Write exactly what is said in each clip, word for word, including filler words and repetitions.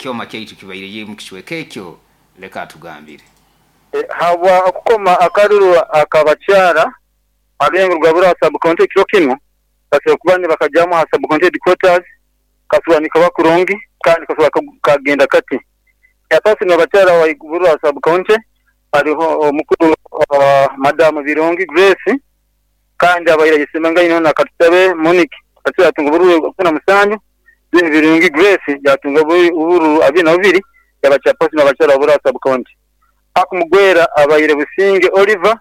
Kyoma kyaitu kibaire mu kicweka ekyo, leka atugambire. Habwa okukoma akaruru akabakyara abengo rwa sub county ekiro kinu basobola kuba nibakajamu ha sub county headquarters, kasobola nikaba kurungi kandi kasobola kagenda kati. Chairperson abakyara wa sub county hariho omukuru Madam Birungi Grace, kandi abaire ayesimbangaine na Katusabe Monique. Katusabe yatunga obururu ikumi na musanju, then Birungi Grace yatunga obururu abiri na bubiri, yaba chairperson abakyara wa sub county. Akumugwera abaire Businge Oliver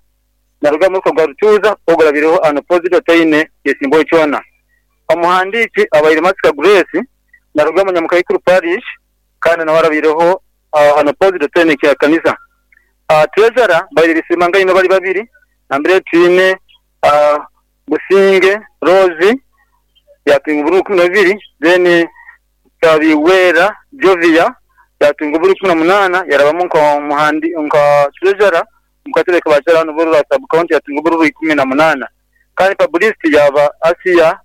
naruga muruka gwa Rutuuza, ogurabireho unopposed, ataine yesimbaho kyona. Omuhandiiki abaire Masika Grace naruga Munyamukaikuru Parish, kandi nawe arabireho unopposed, ataine kya kanisa. Treasurer baire bisimangaine bali babiri, nambere twine Businge Rose yatunga obururu ikumi na bubiri, then Kabiwera Jovia yatunga obururu ikumi na munaana, yarabamu nka treasurer mukatebe kabakyara hanu Burora sub county, yatunga obururu ikumi na munaana. Kandi publicity yaba Asia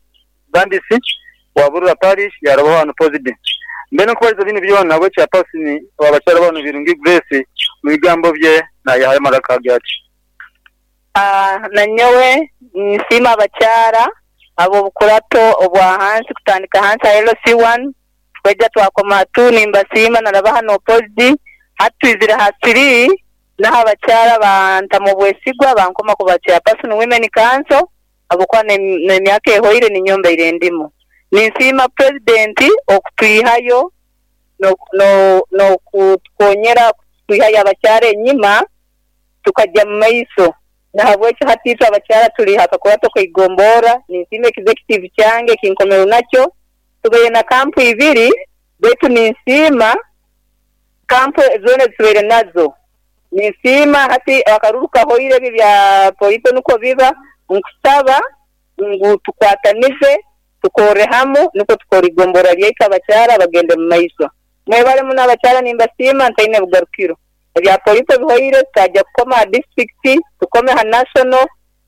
Gandisi wa Burora Parish, yarabaho unopposed. Mbere nkubaliza binu byona, we chairperson wabakyara banu Birungi Grace mu bigambo bye nayahayo amaraka gati. Nanyowe nsiima abakyara ab'obukurato obwa hansi, kutandika hansi ha L C one twajja twakoma two, nimbasiima narabaha n'opposed. Hati twizire ha three, naho abakyara bantamu obwesigwa bankoma kuba chairperson women council, habwokuba n'emyaka ehoire ninyombeire endimu. Ninsiima president okutwihayo n'okutukonyera kutwihayo abakyara enyima tukajja mu maiso. Nahabwekyo hati itwe abakyara tuli ha kakurato kaigombora. Ninsiima executive kyange kinkomere nakyo, tubaire na kampu ibiri, baitu ninsiima kampu zoona ezitubaire nazo. Ninsiima hati akaruru kahoire, ebi bya polito nukwo biba, nkusaba ngu tukwatanize tukorre hamu nukwo tukora igombora lyaitu abakyara bagende mu maiso. Mwebale muno abakyara, nimbasiima ntaine bugarukiro. Ebya polito bihoire, tukajja kukoma ha district, tukome ha national,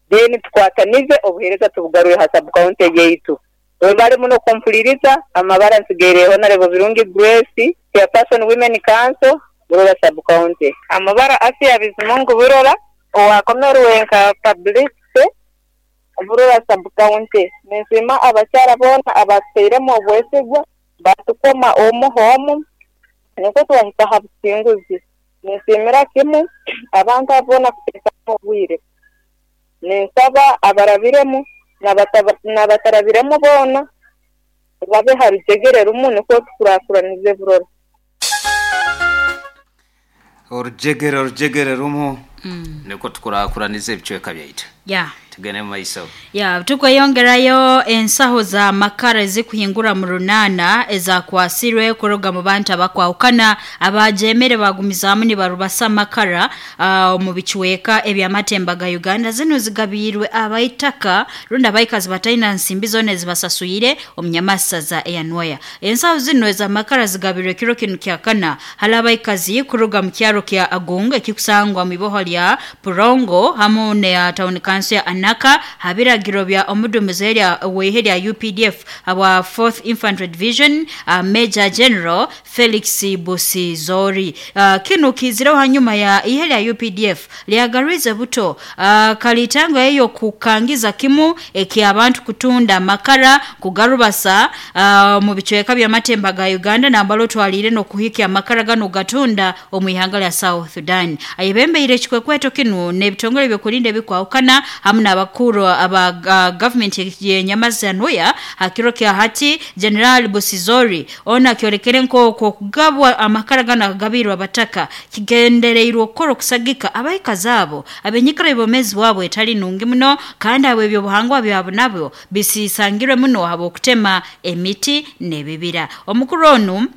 then tukwatanize obuheereza tubugarure ha sub county yaitu. Mwebale muno kumpuliriza. Amabara nsigaireho Honorable Birungi Grace, chairperson women council, Burora sub county. Amabara Asia Bizimungu Burora, owakomerwe nka publicity Burora sub county. Ninsiima abakyara boona abatuteiremu obwesigwa batukoma omu homu nikwo twahika ha businguzi. Ninsiimira kimu abantu abo boona kuteekamu obwire. Ninsaba abarabiremu n'abatarabiremu boona babe ha rujegere rumu nikwo tukurakuranize Burora. Orujegere orujegere rumu nikwo tukurakuranize ebicweka byaitu. Ya. Tugende mu maiso. Ya, tukweyongerayo ensaho za makara ezikuhingura mu runana ezakwasirwe kuruga mu bantu abakwahukana abajemere bagumizaamu nibarubasa makara uh, mu bicweka ebyamatemba ga Uganda. Zino zigabirwe abaitaka runda abaikazi bataina nsimbi zone zibasasuyire omunyamasaza eyanwaya. Ensaho zino eza makara zigabirwe kiro kinu kyakana hali abaikazi kuruga mu kyaro kya Agunga ekikusangwa mu iboho lya Purongo hamu ne town council ya Anaka habiragiro bya omudumizi lya wehe lya U P D F aba fourth Infantry Division uh, Major General Felix Busizori. uh, kino kiziraho hanyuma ya ihe lya U P D F lyagarize buto uh, kalitango eyo kukangiza kimu eki abantu kutunda makara kugarubasa uh, mu bicweka bya matemba ga Uganda nambalo twalire no kuhikia makara gano gatunda omwihanga lya South Sudan. Ayebembeire kikwekweto kinu n'ebitongole byokulinda bikwahukana hamu n'abakuru aba uh, government ye Nyamaza hakiro kya hati General Busizori ona kyolekere nko kugabwa amakara gana gabirwa bataka kigendereirwe okukora okusagika abaikazi abo abenyikara ebomezi wabo etali nungi muno kandi abo ebyobuhangwa byabo nabyo bisisangirwe muno abo okutema emiti n'ebibira. Omukuru onu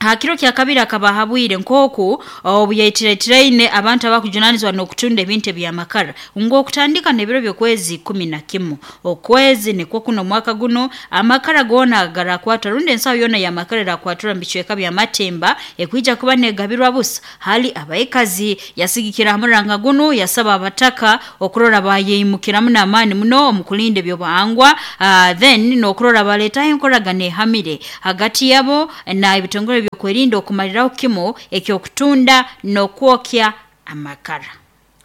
hakiro kya kabiri akabahabwire nkoku obuyaitiraitirine abantu abakujunanizwa n'okutunda ebintu bya makara ngo okutandika n'ebiro by'okwezi kumi na kimu okwezi nikwo kuno mwaka guno amakara gona garakwata rundi ensaho yona ya makara rakwatura mbicweka bya matemba ekwija kuba negabirwa busa hali abaikazi yasigikira hamuranga guno yasaba abataka okurora bayimukiramu n'amaani muno omukulinde byobuhangwa uh, then n'okurora baletaho enkoragana ehamire hagati yabo na ebitongole. w'ebyokwerinda okumaliraho kimu ekyokutunda n'okwokya amakara.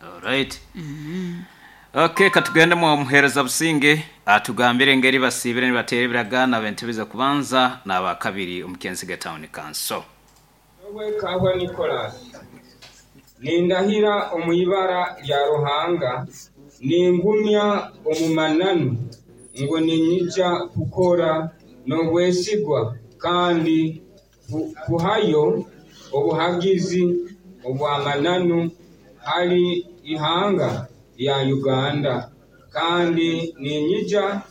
Alright. Mm -hmm. Okay, katugende mu muhereza Businge atugambire engeri basibire nibatera ebiragaano ab'entebe kubanza n'abakabiri omu Kyensige Town Council. Nyowe Kabwa Nicholas nindahira omu ibara lya Ruhanga, ningumya omu mananu ngu ninyija kukora n'obwesigwa kandi kuhayo obuhagizi obw'amananu hali ihanga lya Uganda, kandi ninyija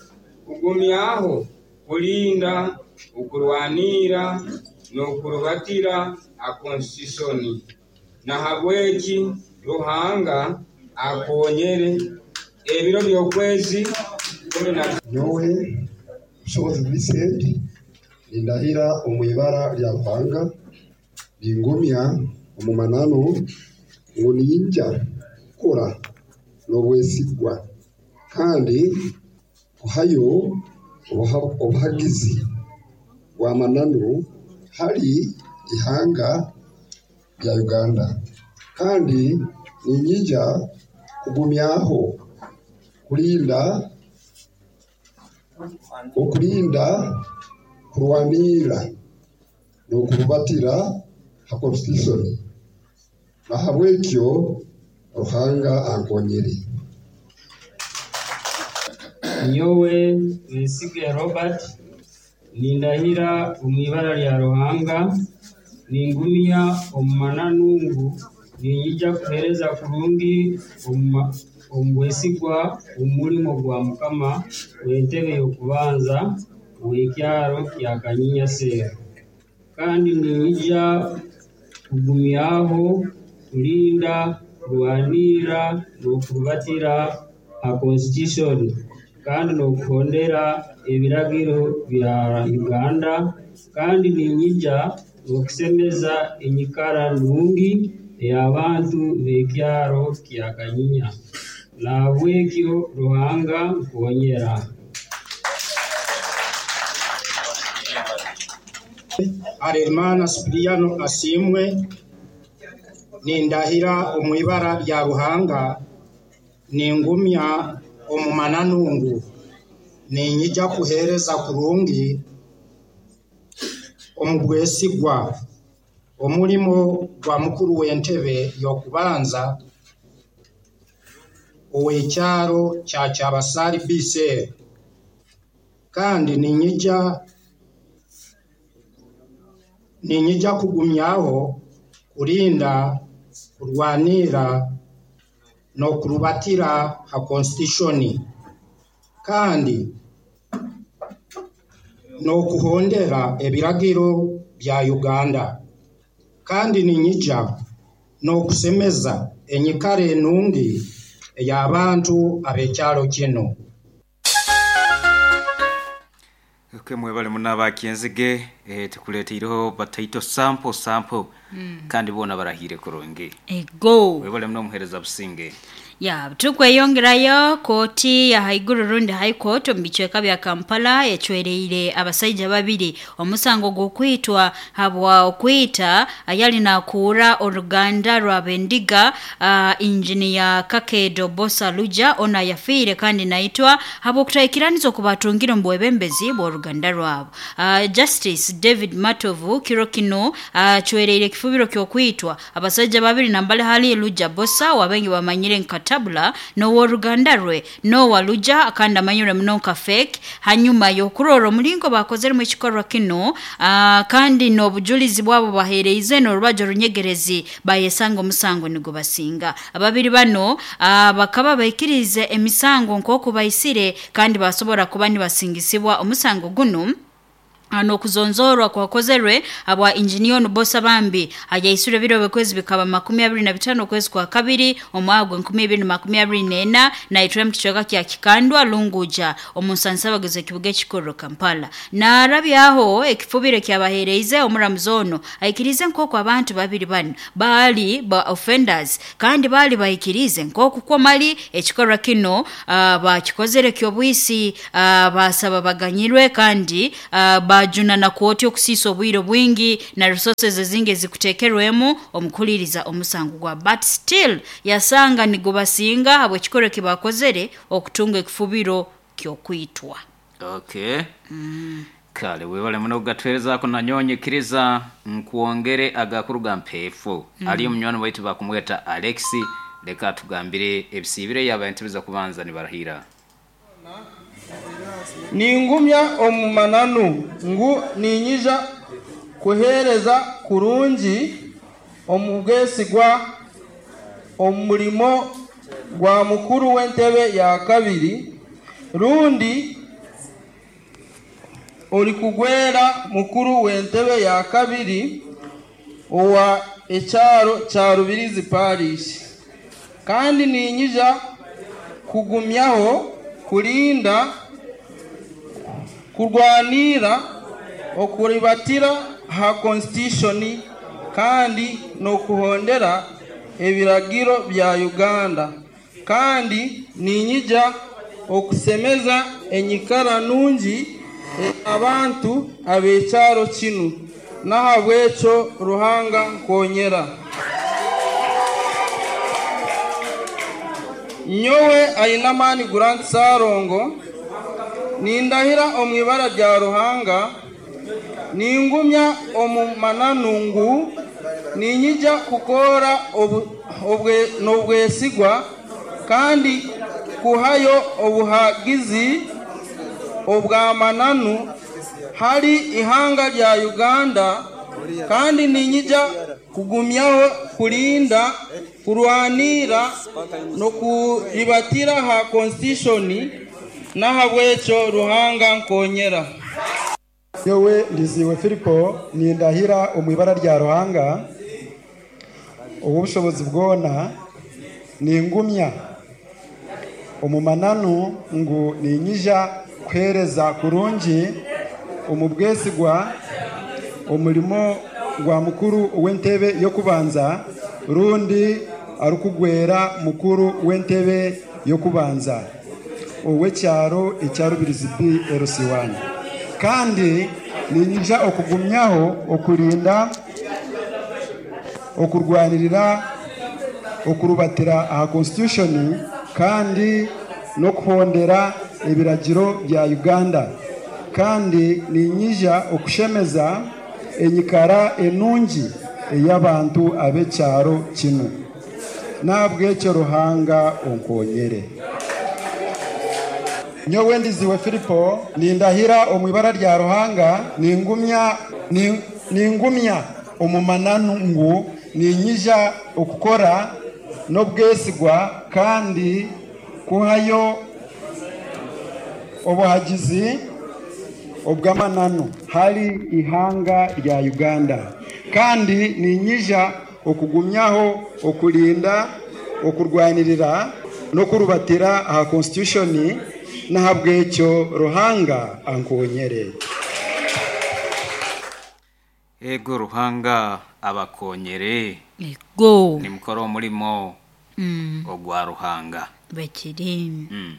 kugumyaho kulinda, okurwanira n'okurubatira a constitution. Nahabweki Ruhanga akonyere ebiro by'okwezi kumi na Nyowe Bushobozi Vincent nindahira omu ibara lya Ruhanga, ningumya omu mananu ngu ninyija kukora n'obwesigwa kandi kuhayo obuhagizi bw'amananu hali ihanga lya Uganda, kandi ninyija kugumyaho kulinda, okulinda, kurwanira n'okurubatira ha constitution. Nahabwekyo Ruhanga ankonyere. Nyowe Mwesige Robert nindahira omu ibara lya Ruhanga, ningumya omu mananu ngu ninyija kuheereza kurungi omu bwesigwa omulimo gwa mukama w'entebe y'okubanza ow'ekyaro kya Kanyinya Cell, kandi ninyija kugumyaho kulinda, kurwanira n'okurubatira ha constitution kandi n'okuhondera ebiragiro bya Uganda, kandi ninyija n'okusemeza enyikara nungi ey'abantu b'ekyaro kya Kanyinya. Nahabwekyo Ruhanga nkonyera. Harerimana Sipiriyano Asiimwe nindahira omu ibara lya Ruhanga, ningumya omu mananu ngu ninyija kuheereza kurungi omu bwesigwa omulimo gwa mukuru w'entebe y'okubanza ow'ekyaro kya Kyabasari B Cell, kandi ninyija ninyija kugumyaho kulinda, kurwanira n'okurubatira ha constitution kandi n'okuhondera ebiragiro bya Uganda, kandi ninyija n'okusemeza enyikara enungi ey'abantu ab'ekyaro kino. Okay, mwebale munaba Kyenzige eh, tukuleeteireho bataito sample sample mm. kandi bona barahire kurungi. Ego. Mwebale muno muhereza Businge. Ya, tukweyongerayo kooti ya haiguru rundi High Court omu bicweka bya Kampala ecwereire abasaija babiri omusango gw'okwitwa habwa okwita ayali nakuura oruganda rwa Bendiga uh, engineer Kakedo Bosa Luja ona yafiire kandi naitwa habw'okutaikiraniza okubatungire omu bwebembezi bw'oruganda rwabo. Uh, Justice David Matovu kiro kino acwereire uh, ekifubiro ky'okwitwa abasaija babiri nambale hali Luja Bosa wabengi bamanyire nka Tabula n'oworuganda rwe Nowa Luja kandi amanyire muno nka fake hanyuma y'okurora omulingo bakozeremu ekikorwa kino uh, kandi n'obujulizi bwabo baheereize n'orubajo runyegerezi bayesanga omusango nigo basinga. Ababiri bano uh, bakaba baikirize emisango nk'oku baisire kandi basobora kuba nibasingisibwa omusango guno n'okuzonzorwa kwakozerwe abwa engineer Nubosa Bambi ajaisure biro bekwezi bikaba makumi abiri na bitano okwezi kwa kabiri omwaka gwa nkumi ibiri na makumi abiri n'ena na itwe mu kicweka kya Kikandwa Lunguja omunsansa bageze kibuga ekikuru Kampala. Na arabyaho ekifubire kyabahereize omuramuzi ono aikirize nk'oku abantu babiri bano baali ba offenders kandi baali baikirize nk'oku kwomali ekikorwa kino uh, bakikozere kyobwisi uh, basaba baganyirwe kandi uh, Bajuna na kooti okusisa obwire bwingi na resources ezingi ezikutekerwemu omukuliriza omusango gwa, but still yasanga nigubasinga habw'ekikoro kibakozere okutunga ekifubiro kyokwitwa. Okay. Mm. Kale webale muno kugatwerezaako nanyonyekiriza nkuwongere agakuru mpeefu. Mm. Ali omunywani waitu bakumweta Alexi, leka tugambire ebisiibire yaba entebe kubanza nibarahira. Ningumya omu mananu ngu ninyija kuhereza kurungi omu bwesigwa omulimo gwa mukuru w'entebe ya kabiri rundi olikugwera mukuru w'entebe ya kabiri owa ekyaro kya Rubirizi Parish, kandi ninyija kugumyaho kulinda kurwanira okuribatira ha constitution kandi n'okuhondera ebiragiro bya Uganda, kandi ninyija okusemeza enyikara nungi abantu ab'ekyaro kinu, nahabwekyo Ruhanga nkonyera. Nyowe Ainamani Grant Sarongo nindahira omu ibara rya Ruhanga, ningumya omu mananu ngu ninyija kukora n'obwesigwa kandi kuhayo obuhagizi obw'amananu hali ihanga lya Uganda, kandi ninyija kugumyaho kulinda kurwanira n'okuribatira ha constitution, nahabwekyo Ruhanga nkonyera. Nyowe Ndiziwe Filipo nindahira omu ibara rya Ruhanga obushobozi bwona, ningumya omu mananu ngu ninyija kuhereza kurungi omu bwesigwa omulimo gwa mukuru w'entebe y'okubanza rundi arukugwera mukuru w'entebe y'okubanza ow'ekyaro ekya Rubirizi B L C one, kandi ninyija okugumyaho okurinda okurwanirira okurubatira aha constitution kandi n'okuhondera ebiragiro bya Uganda, kandi ninyija okushemeza enyikara enungi ey'abantu ab'ekyaro kinu, nabwekyo Ruhanga onkonyere. Nyowe Ndiziwe Filipo nindahira omu ibara rya Ruhanga, ningumya ningumya omu mananu ngu ninyija okukora n'obwesigwa kandi kuhayo obuhagizi obw'amananu hali ihanga rya Uganda, kandi ninyija okugumyaho okurinda okurwanirira n'okurubatira aha constitution, nahabwekyo Ruhanga ankonyere. Ego Ruhanga abakonyere. Ego ni mukoro omulimo mm. ogwa Ruhanga bekiri. Mm.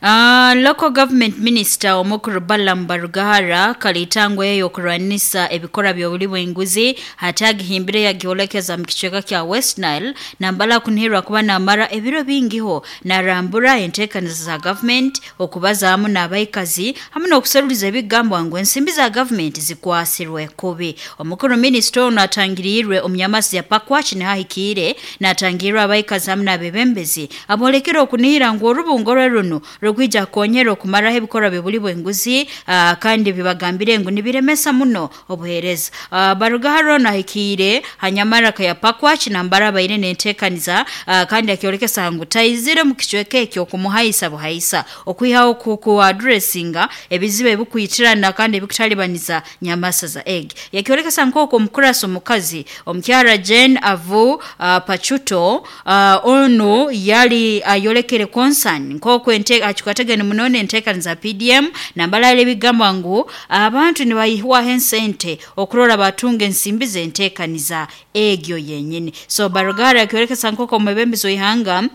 Uh, local government minister omukuru Balaam Barugahara kalitangwa yeyo okurwanisa ebikora by'obuli bw'enguzi hatagihimbire yagiolekeza mu kicweka kya West Nile nambala kunhirwa kuba namara ebiro bingiho narambura enteekaniza za government okubazaamu n'abaikazi hamwe n'okuseruliza ebigambo ngu ensimbi za government zikwasirwe kubi. Omukuru minister ono atangirirwe omunyamasi ya Pakwach nihahikire natangirwa abaikazi hamwe n'abebembezi abolekera okunihira ngu orubungo rwe runo rugwija konyera okumaraho ebikora bibuli bw'enguzi uh, kandi bibagambire ngu nibiremesa muno obuhereza. uh, Barugahara nahikire hanyamaraka ya Pakwach nambara baire nentekaniza uh, kandi akiolekesa ngu taizire mu kicweka ekyo okumuhaisa buhaisa okwihaho ku addressinga ebizibu ebikwitirana kandi ebikutalibaniza nyamasa za egg. Yakiolekesa nkoko omukurasa omukazi omukyara Jane Avu uh, Pachuto uh, ono yali ayolekere uh, concern nkoko ente achukatega munone entekaniza P D M nambala ile bigamba ngu abantu nibayihwa hensente okurora batunge ensimbi zentekaniza egyo yenyini. So Barugahara akiolekesa nkoko omwebembezi w'ihanga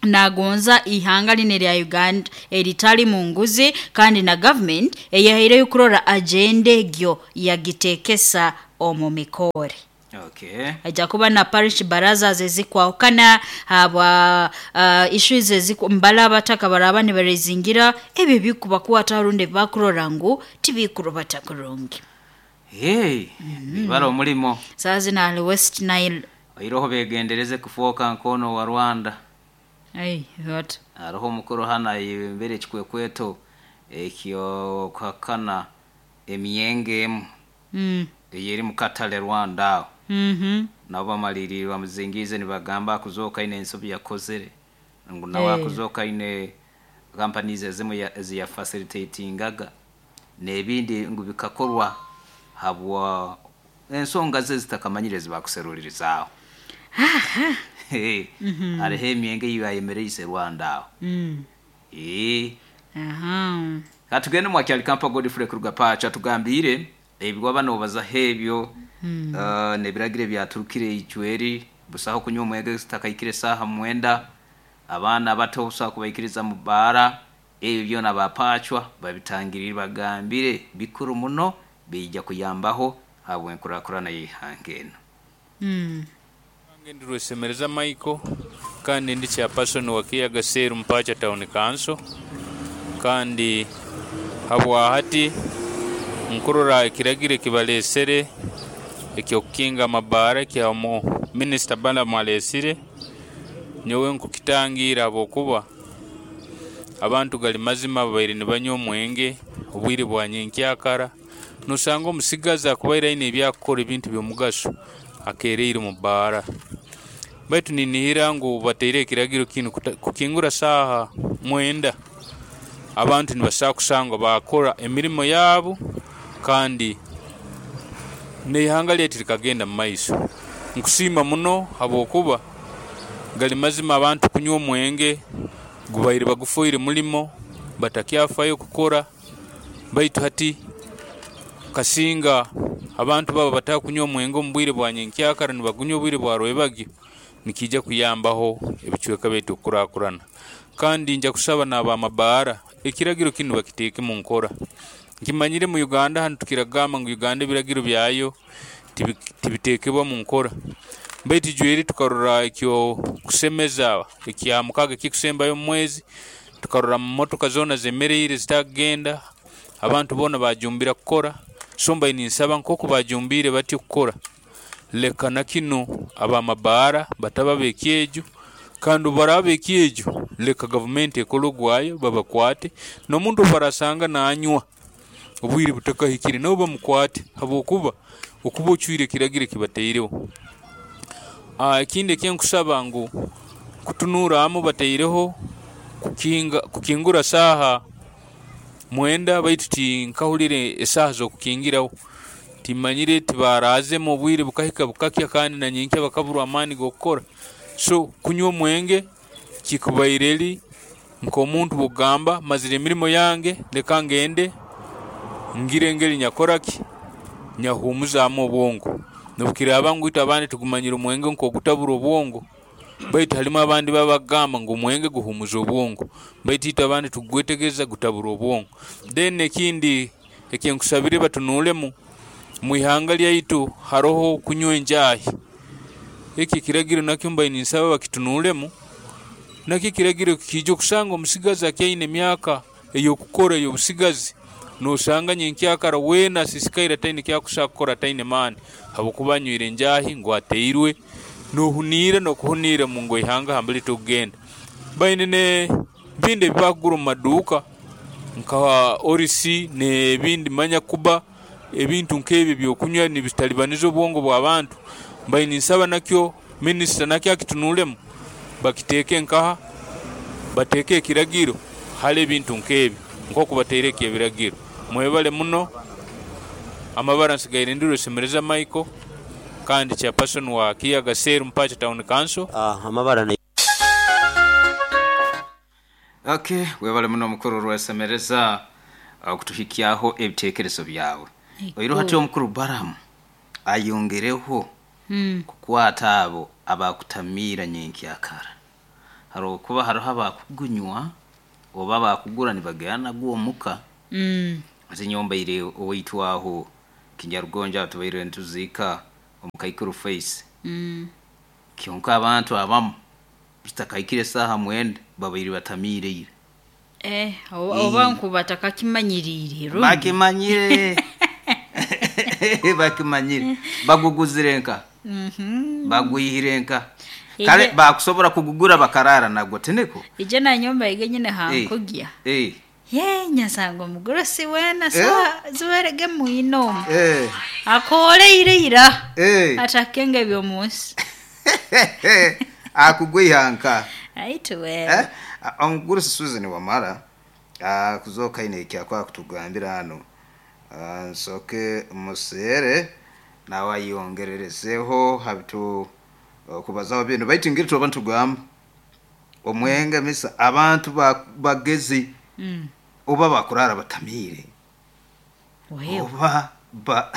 Nagonza ihanga line lya Uganda eritali munguzi kandi na government eyahaireyo kurora agenda egyo yagitekesa omu mikore. Okay. Ajja kuba na parish baraza zezikwahukana habwa uh, issues eziku mbala abataka baraba nibarezingira ebyo bikubakwata runde bakurora ngu tibikurubata kurungi. Hey, mm. Baro omulimo. Sazi na West Nile. Iroho begendereze kufoka nkono wa Rwanda. Hey, what? Aroho mukuru hana imbere ekikwekweto ekyo kuhakana emyenge emu. Mm. Eyeri mukatale Rwanda. Mhm. Nabo bamalirira bamuzingize nibagamba kuzoka ine ensobi yakozere. Ngu nawe Hey. akuzoka ine companies ezimu ya eziya facilitatingaga n'ebindi ngu bikakorwa habwa ensonga ze zitakamanyire zibakuserulirizaaho. Hey, Mhm. hariho emyenge yibayemereise Rwanda aho. Mm. Eh. Aha. Katugende mwakyali kampa Godfrey kuruga pacha tugambire ebigwa bano bazaho ebyo Mm. uh, nebiragire byaturukire icweri busaho kunywa omwenge zitakaikire saha mwenda abaana bato busaho kubaikiriza mu bara ebyo byona bapachwa babitangirire bagambire bikuru muno bijja kuyambaho habwe enkurakurana y'ihanga eno. Mm. Ndi Rwesemereza Michael kandi ndi chairperson wa Kiyaga Seru Mpacha Town Council kandi habwahati nkurora ekiragiro ekibalesere ekyokukinga amabara kya mu Minister Balaam alesire nyowe nkukitangira habwokuba abantu gali mazima babaire nibanywa omwenge obwire bwa nyenkyakara nosanga omusigazi akubaire aine ebyakukora ebintu by'omugaso akereire mu bara baitu ninihira ngu bateire ekiragiro kinu kuta- kukingura saaha mwenda abantu nibasobola kusangwa bakora emirimo yaabo kandi n'ihanga lyaitu likagenda mu maiso. Nkusiima muno habwokuba gali mazima abantu kunywa omwenge gubaire bagufoire mulimo batakyafayo kukora baitu hati kasinga abantu baba batakunywa omwenge omu bwire bwa nyenkyakara nibagunywa obwire bwa rwebagyo nikijja kuyambaho ebicweka byaitu okukurakurana kandi nja kusaba n'abamabaara ekiragiro kinu bakiteeke mu nkora. Nkimanyire mu Uganda hanu tukiragamba ngu Uganda ebiragiro byayo tibi- tibitekebwa mu nkora baitu jweri tukarora ekyo kusemeza ekya mukaga ekikusembayo omu mwezi tukarora motoka zoona zemereire zitakugenda abantu boona bajumbira kukora so mbaire ninsaba nk'oku bajumbire batyo kukora leka na kinu abamabaara bataba bekyejo kandi obu bekyejo leka gavumenti ekole ogwayo babakwate n'omuntu obu barasanga nanywa obwire butakahikire nabo bamukwate habwokuba okuba ocwire ekiragiro ekibateireho. Ah, ekindi ekyenkusaba ngu kutunuuramu bateireho kukinga kukingura saaha mwenda baitu tinkahurire esaaha z'okukingiraho timanyire tibaraazemu obwire bukahika bukakya kandi na nyenkya bakaburwa amaani g'okukora so kunywa omwenge kikubaire eri nk'omuntu bw'okugamba mazire emirimo yange leka ngende ngire engeri nyakoraki nyahuumuzaamu obwongo nobukiraaba ngu itwe abandi tugumanyire omwenge nk'ogutabura obwongo baitu halimu abandi babagamba ngu omwenge guhumuza obwongo baitu itwe abandi tugwetegereza gutabura obwongo. Then ekindi ekyenkusabire batunuulemu mu ihanga lyaitu haroho kunywa enjaahi eki ekiragiro nakyo mbaire ninsaba bakitunuulemu nakyo ekiragiro kiija okusanga omusigazi akyaine emyaka ey'okukora ey'obusigazi nosanga nyenkyakara weena asisikaire ataine kyakusobola kukora ataine maani habwokuba anywire enjaahi ngu ateirwe nohuniira n'okuhuniira mungu ihanga hambere tokugenda. Baine ne bindi ebibakugura omu maduuka nka orisi n'ebindi manya kuba ebintu nk'ebyo ebyokunywa nibitalibaniza obwongo bw'abantu mbaire ninsaba nakyo minisita nakyo akitunuulemu bakiteeke nkaha bateeke ekiragiro hali ebintu nk'ebyo nk'oku bateireko ebiragiro. Mwebale muno amabara nsigaire ndi Rwesemereza Michael kandi chairperson wa Kiyaga Seru Mpacha Town Council. Ah, amabara ne Okay, webale muno mukuru Rwesemereza okutuhikyaho ebitekerezo byawe. Oiroho hati omukuru Balaam ayongereho Mm. kukwata abo abakutamiira nyenkyakara. Haro kuba hariho abakugunywa oba bakugura nibagenda nagwo omuka. Mm. Ate nyombaire owaitwaho Kinyarugonja tubaire ntuzika omukaikuru face. Mm. Kyonka abantu abamu kitakaikire saha mwenda babaire batamiire ira. Eh, oba nkuba takakimanyirire rundi. Bakimanyire. Bakimanyire. Baguguzire nka. Mhm. Bagwihire nka. Kale bakusobora kugugura bakarara nagwo teneko. Ije na nyomba ige nyine hankugya. Eh. Ye nyasango mugurusi wena sa ziwerege muino. Eh. Akole ire ira. Eh. Atakenge byomunsi. Akugwihanka. Aituwe. Eh? Omugurusi Susan Wamara ah kuzoka ine kyakwa kutugambira hano. Ah nsoke musere nawe ayongererezeho habitu kubazaho bintu baitu ngiri tuba ntugamba omwenge misa abantu bagezi mm. oba bakurara batamire oba ba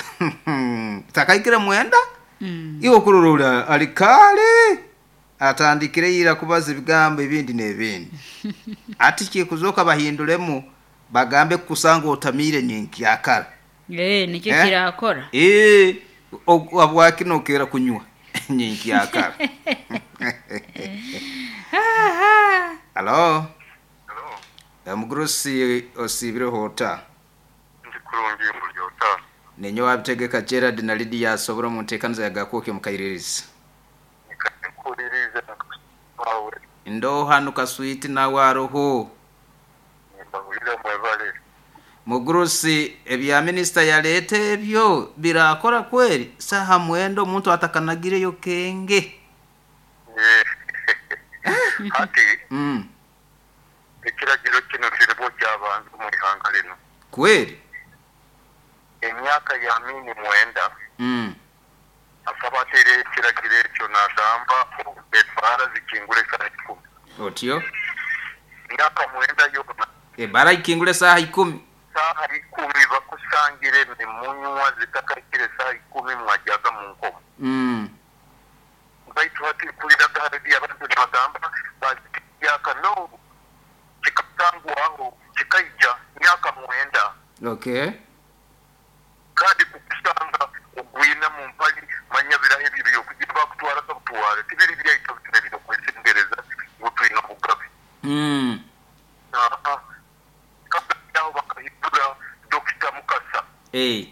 takaikira mwenda mm. iwo kururura alikale atandikire ira kubaza ebigambo ebindi n'ebindi ati kikuzoka bahindulemu bagambe kusanga otamire ninkyakara eh nikyo eh? Kirakora eh obwakino kera kunywa ninkyakara. Hello. Hello. Mugurusi osibire hota. Ndi kurungi mulyota. Nenyo wabitegeka Gerard na Lydia sobora mu ntekaniza yagakoke mukaiririza. Nikakuririza wawe. Ndo hanu kaswiti na waroho. Mbahurira mwebale. Mugurusi ebya minister yalete ebyo birakora kweri saha mwendo omuntu atakanagireyo kenge. Ati mm. Ekiragiro kino kirebo ky'abantu mu ihanga lino. Kweri emyaka ya mini mwenda mm. Asaba atere ekiragiro ekyo n'agamba ebbaala zikingule saaha ikumi. Otyo emyaka mwenda yonna ebbaala ikingule saaha ikumi saaha ikumi bakusangire ne munywa zitakaikire saaha ikumi mwajyaga mu nkomo. Mm. Baitu hati kuliraga hali abantu nibagamba baziyaka no kikatangwaho kikaija myaka mwenda. Okay. Kandi kukusanga ogwina mu mpali manya birahe bibiri okugira bakutwara kabutwara tibiri byaita bitebiro kwesengereza ngo twina bugabe. Mm. Ah kabyaho bakahindura Doctor Mukasa. Eh.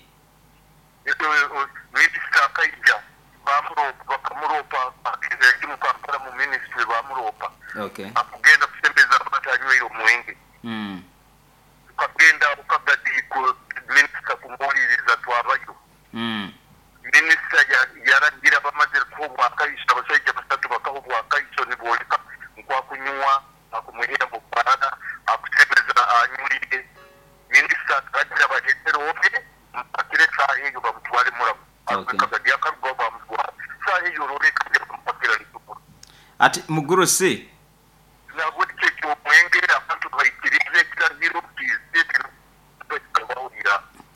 Minister kaija bamuropa bakamuropa akizeki mukampala mu ministry bamuropa. Okay. Akugenda kusembeza abatanyweire omwenge. Mm. Ukagenda ukagadi ku minister kumuliriza twabayo. Mm. Minister yaragira bamaze kubwa akayisha abasajja basatu bakahubwa akayisho niboleka nkwa kunywa akumuhera mu barana akusembeza anyulire. Minister akagira bahetero obe mpakire saha eyo bamutwale muramu. Okay. Akagadi akaruga bamutwara saha eyo roreka bamupakira litukura. Ati mugurusi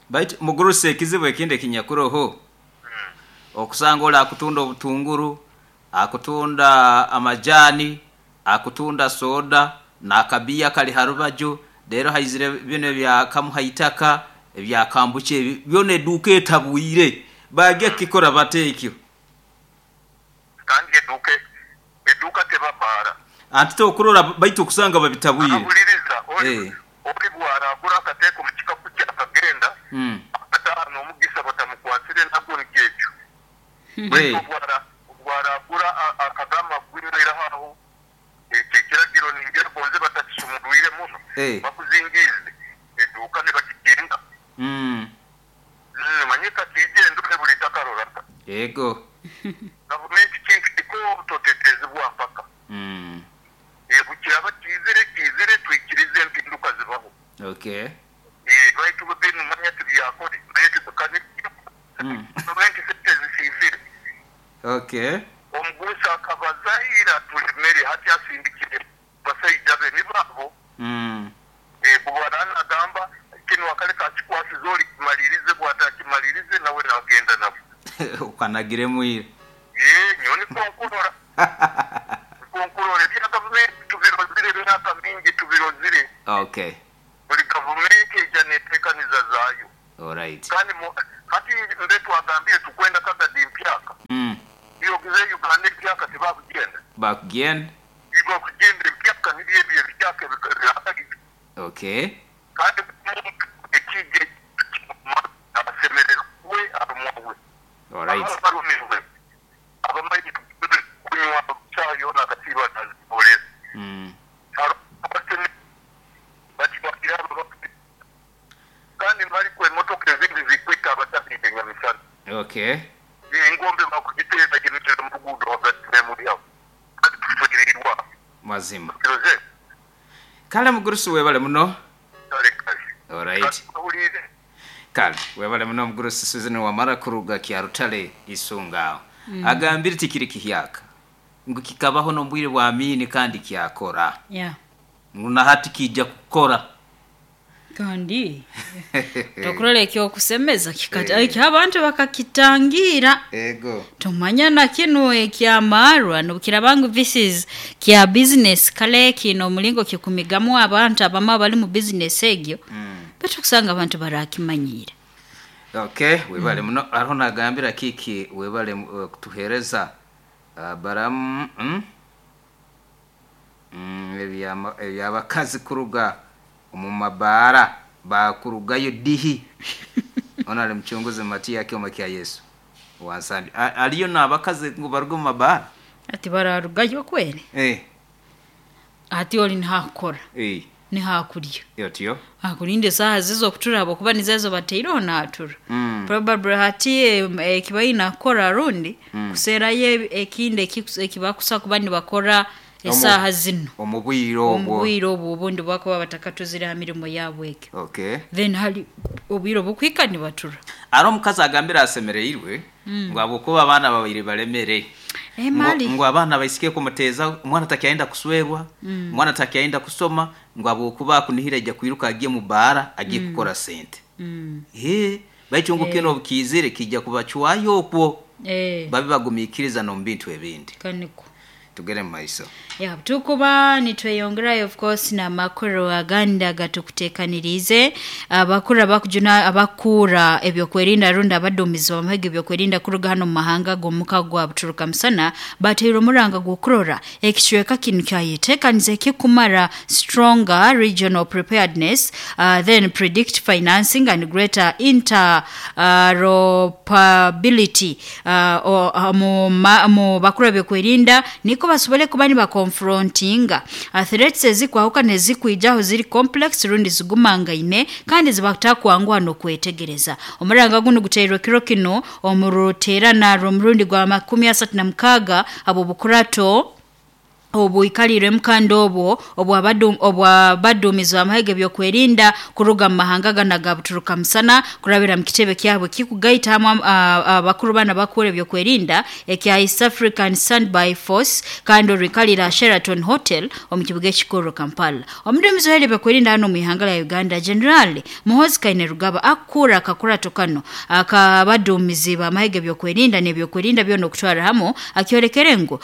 baitu mugurusi ekizibu ekindi kinyakuroho. Mm. Okusanga ola akutunda obutunguru, akutunda amajani, akutunda soda na kabia kali harubajo rero haizire bino bya kamuhaitaka ebya kambuche byone eduka etabwire bage kikora batekyo kandi eduke eduka tebabara anti tokurora baitu kusanga babitabwire abuliriza oli oli bwara agura kateko mu kikapu kyakagenda mm atano omugisa batamukwatire nabwo nikekyo hey. Bwara bwara agura akagamba gwinira haho ekiragiro ningera bonze batakisumurwire muno hey. Bakuzingize eduka ne bakikinga mm manyika kijendo buli takarora yego gavumenti kintu kiko totetezibwa mpaka mm ebukiraba kizire kizire twikirize empinduka zibaho okay eh baitu binu manya tubyakore naye tukane mm gavumenti sitezisifire okay omugusa akabazahira tulimere hati asindikire basajja be nibabo mm eh bwana agamba kino akaleka akikwasiza oli kimalirize bw'atakimalirize nawe nagenda nabo ukanagire mwire eh nyoni konkurora konkurora ebya gavumenti bingi tubirozire. Okay. Buli gavumenti ejja neteekaniza zaayo. Alright. Kandi hati mbe twagambire tukwenda kagadi mpyaka. Mm. Yogize Uganda empyaka tebakugenda. Bakugenda? Bakugenda empyaka nibyo ebyo ebikyaka ebiraka. Okay. Kandi ekije asemererwe arumwe. Alright. Abamanyi kunywa chayo na katiba na polisi. Mm. Kandi mali kwa emotoka ezindi zikwita abatafite nyamisana. Okay. Engombe bakugiteeza kintu mu rugudo hagati mu yawo. Kandi tufikirirwa. Mazima. Kale mugurusi webale muno. Kale kale. Alright. Kale webale muno mugurusi Susan wamara kuruga Kyarutale Isunga. Mm. Agambire tikiri kihyaka. Ngu kikabaho nombwire bwa amini kandi kyakora. Yeah. Nguna hati kijja kukora. Kandi tokurole ekyo kusemeza kikata hey. Abantu bakakitangira. Ego. Tumanya na kinu ekyamarwa nobukira this is kya business kale kino mulingo kikumigamu abantu abama bali mu business egyo. Mm. Betu kusanga abantu barakimanyira. Okay, webale mm. muno ariho nagambira kiki webale uh, kutuhereza uh, baram mm? Mm, ebyabakazi kuruga mu mabara bakurugayo dihi. Ona ali mchunguzi Matia kyoma kya Yesu wansandi aliyo nabakazi ngo baruga mu mabara ati bararugayo kwere eh ati oli nihakora eh nihakurya yotiyo akulinde saha zizo kutura abo kuba nizezo bateiro natura mm. Probably hati ekibayi nakora rundi mm. kusera ye ekinde ekibakusa kuba nibakora esaha zino omubwiro obwo omubwiro obwo obundi bwakuba batakatuzira mirimo yabwe ekyo. Okay. Then hali obwiro bukwika nibatura aro mukazi agambira asemereirwe mm. ngo abokuba abana babiri balemere eh mali ngo abana baisike kumuteza umwana takiaenda kuswerwa mm. umwana takiaenda kusoma ngo abokuba kunihira ijya kwiruka agiye mu bara agiye mm. kukora sente mm. eh baitungu eh. kino bukizire kijya kubachwayo okwo eh babi bagumikiriza no mbintu ebindi kaniko tugere mu maiso. Ya tukuba nitweyongerayo of course na makuru aganda gatukutekanirize abakura bakujuna abakura ebyokwerinda runda abadumizi bamahege ebyokwerinda kuruga hano mu mahanga gomuka gwa buturuka musana batero muranga gukurora ekicweka kinu kyayetekanize kikumara stronger regional preparedness uh, then predict financing and greater interoperability uh, o, uh, mu, ma, mu bakura ebyokwerinda niko basobole kuba nibakonfrontinga threats ezikwahuka nezikwijaho ziri complex rundi zigumangaine kandi zibatakwanguha nokwetegereza. Omuranga guno guteirwe kiro kino omuruterana romurundi gwa makumi asatu na mukaga abo bukurato obuikalire mkando obwo obwabadu obwabadumizi amahege byokwerinda kuruga mahanga gana gabuturuka musana kurabira mukitebe kyabwe kikugaita hamwe abakuru bana bakure byokwerinda ekya East African Standby Force kandi rikalira Sheraton Hotel omukibuga ekikuru Kampala. Omudumizi w'ebyo byokwerinda hano mu ihanga la Uganda General Muhoozi Kainerugaba akura akakura tokano akabadumizi bamahege byokwerinda n'ebyokwerinda byono kutwara hamo akyorekere ngo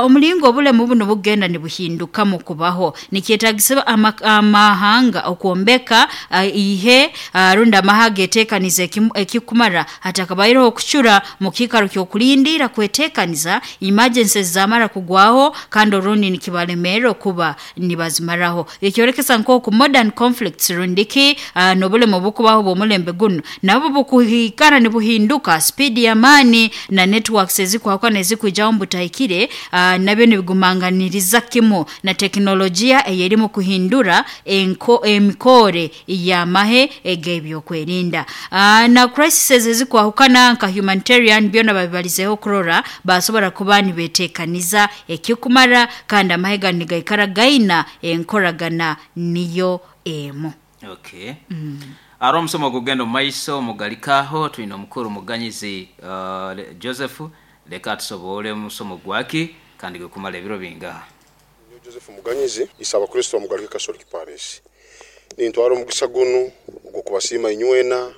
omulingo obule mu buno bugenda nibuhinduka mu kubaho nikyetagisaba amahanga okuombeka uh, ihe uh, runda amahanga etekanize ekikumara hatakabairo okuchura mu kikaro kyokulindira kwetekaniza emergencies zamara kugwaho kandi orundi nikibalemero kuba nibazimaraho ekyorekesa nko ku modern conflicts rundiki uh, nobule mu bukubaho bomulembe guno nabo bukuhikana nibuhinduka speed ya mani na networks ezikwakwa nezikwijaho mbutahikire uh, nabyo nibigumanganiriza kimo na teknolojia eyerimu kuhindura enko emikore ya mahe egebyo kwerinda uh, na crises ezikwahukana nka humanitarian byona babibalizeho kurora basobora kuba nibetekaniza ekikumara kandi amahega nigaikara gaina enkoragana niyo emo. Okay. Mm. Aro msomo gugendo maiso mugalikaho tuina mukuru muganyizi uh, Joseph leka tusobole musomo gwaki kandi gukumala ebiro bingaha. Joseph Muganyizi isaba Kristo mugalike Catholic Parish. Nintwara omugisa guno ogw'okubasiima inywena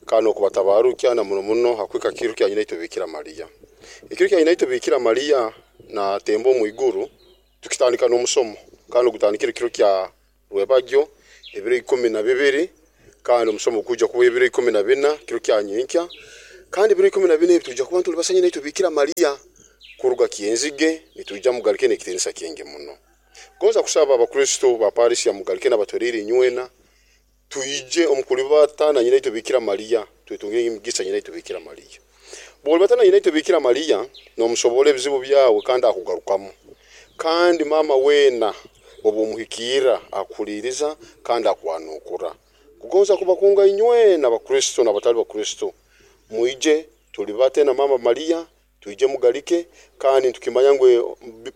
kandi okubatabarukya na muno muno hakwika kiru kya nyina Bikira Maria. Ekiru kya nyina Bikira Maria na tembo mu iguru tukitandika n'omusomo Kandi ogutandikire kiro kya rwebagyo ebiro ikumi na bibiri, kandi omusomo gukujja kuba ebiro ikumi na bina kiro kya nyenkya. Kandi ebiro ikumi na bina ebi tujja kuba tuli basanyina itwe Bikira Maria kuruga Kyenzige, nitujja mugalike n'ekitiinisa kingi muno. Gonza kusaba abakristo ba Paris ya mugalike n'abatwerire inywena tuije omukulibata na nyina itwe Bikira Maria, twetungire emigisa nyina itwe Bikira Maria. Bw'olibatana nyina itwe Bikira Maria n'omusobora ebizibu byawe kandi akugarukamu. Kandi mama wena obumuhikira akuliriza kandi akwanukura. Kugonza kubakunga inywena abakristo n'abatali bakristo, muije tulibate na mama Maria, tuije mugalike. Kandi tukimanya ngwe